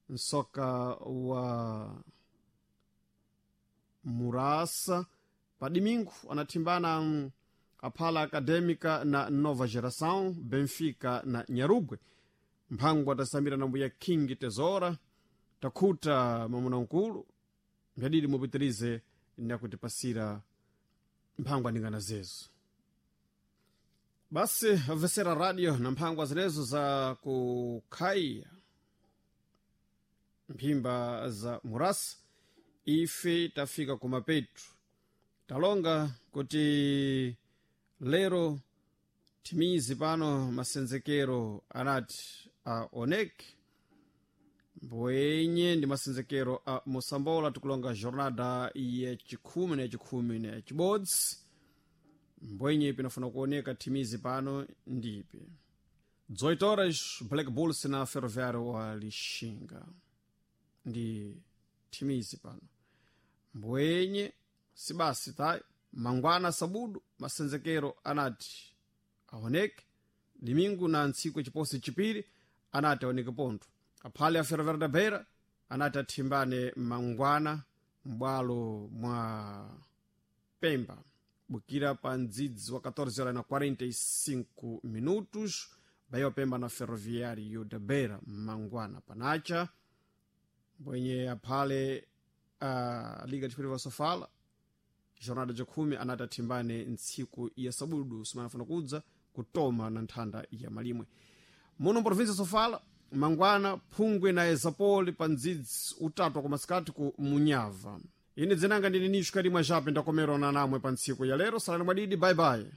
Msoka wa Murasa pa domingo anathimbana Aphala Acadêmica na Nova Geração, Benfica na Nyarugwe. Mphango atasambira na mbuya King Tesoura. Takhuta mamuna nkulu mbyadidi mupitirize nakutipasira mphango aningana zezo. Basi vesera radio na mphangwa zinezo za kukhaiya mphimba za Murasa. Ife tafika kumapetu, talonga kuti lero timizi pano masenzekero anati aoneke mbwenye ndi masenzekero a Mosambola. Tikulonga jornada yachikhumi na yachikhumi na yachibodzi, mbwenye pinafuna kuoneka timizi pano ndipi 18 horas Black Bulls na Ferroviário wa Lixinga ndi timizi pano mbwenye sibasi tayi. Mangwana sabudu masenzekero anati aoneke, domingo na ntsiku chiposi chipiri anati aoneke pontho. Aphale a Ferroviário da Beira anati athimbane mangwana m'bwalo mwa Pemba bukira pa ndzidzi wa 14 horas na 45 minutos, Bayo Pemba na Ferroviário da Beira mangwana panacha. Mbwenye aphale Liga Desportiva Sofala jornada jakhumi anati athimbane ntsiku ya sabudu simanafuna kudza kutoma na nthanda ya malimwe muno provinsia Sofala. Mangwana Phungwe na Ezapoli pa ndzidzi utatu wakumasikati ku Munyava. Ine dzinanga ndine Nisho Karimwa Jape, ndakomerana namwe pa ntsiku ya lero. Salani mwadidi, bye bye.